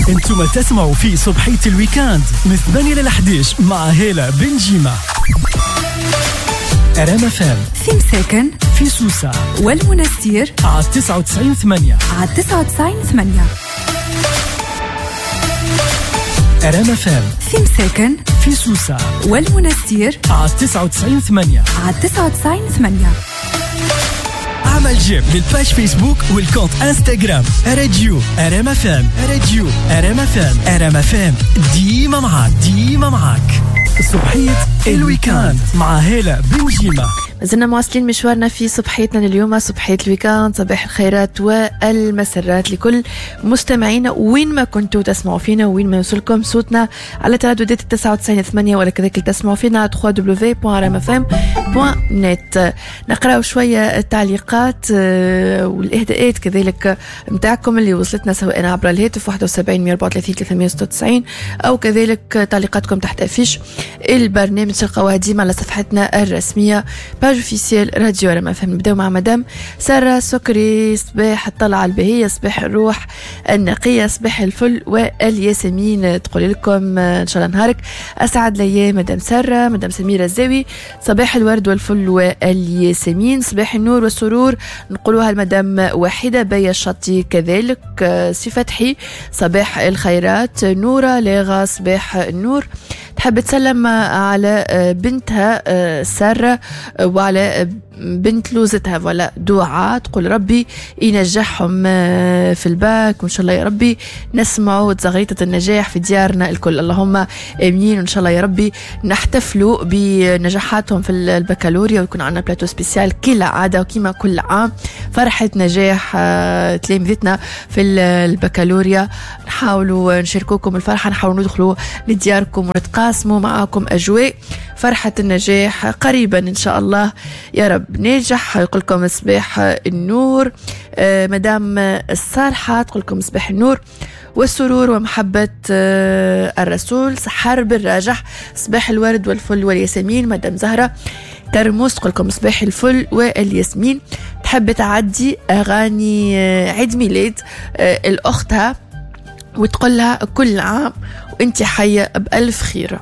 انتم تسمعوا في صبحية ال week-end من 8 ل 11 مع هالة بن جيمة. ار ام اف ام في مساكن، في سوسة والمنستير على 99.8، على 99.8. ار ام اف ام في مساكن، في سوسة والمنستير على 99.8، على 99.8. اعمل j'aime لل page فيسبوك وال compte انستغرام راديو ار ام اف ام، راديو ار ام اف ام، ار ام اف ام ديما معاك، ديما معاك. صبحية ال week-end مع هالة بن جيمة. مازلنا مواصلين مشوارنا في صبحيتنا اليوم، صبحية ال week-end، صباح الخيرات والمسرات لكل مستمعينا وين ما كنتوا تسمعوا فينا وين ما يوصلكم صوتنا على ترددات 99.8، ولا كذلك تسمعوا فينا على www.rmfm.net. نقراو شوية التعليقات والإهداءات كذلك متاعكم اللي وصلتنا سواء عبر الهاتف 71 134 396 أو كذلك تعليقاتكم تحت affiche البرنامج تلقاوها ديما على صفحتنا الرسمية page officielle راديو ار ام اف ام. نبداو مع مدام سارة سكري. صباح الطلعة البهية، صباح الروح النقية، صباح الفل والياسمين، تقول لكم إن شاء الله نهارك أسعد الأيام مدام سارة. مدام سميرة الزاوي، صباح الورد والفل والياسمين، صباح النور والسرور نقولوها لمدام وحيدة بيا الشطي كذلك. سي فتحي صباح الخيرات. نورة لاغا صباح النور، تحب تسلم على بنتها سارة وعلى بنت لوزتها ولا دعاء، تقول ربي ينجحهم في الباك وإن شاء الله يا ربي نسمعوا تزغريطة النجاح في ديارنا الكل، اللهم آمين. وإن شاء الله يا ربي نحتفلوا بنجاحاتهم في البكالوريا ويكون عندنا plateau spécial كالعادة وكما كل عام، فرحة نجاح تلامذتنا في البكالوريا. نحاولوا نشاركوكم الفرحة، نحاولوا ندخلوا لدياركم ونتقاسموا معاكم أجواء فرحة النجاح قريبا إن شاء الله يا رب ناجح. يقولكم صباح النور. مدام الصالحة تقولكم صباح النور والسرور ومحبة الرسول. سحر بالراجح صباح الورد والفل والياسمين. مدام زهرة ترموس تقولكم صباح الفل والياسمين، تحب تعدي أغاني عيد ميلاد الأختها وتقولها كل عام وانت حية بألف خير.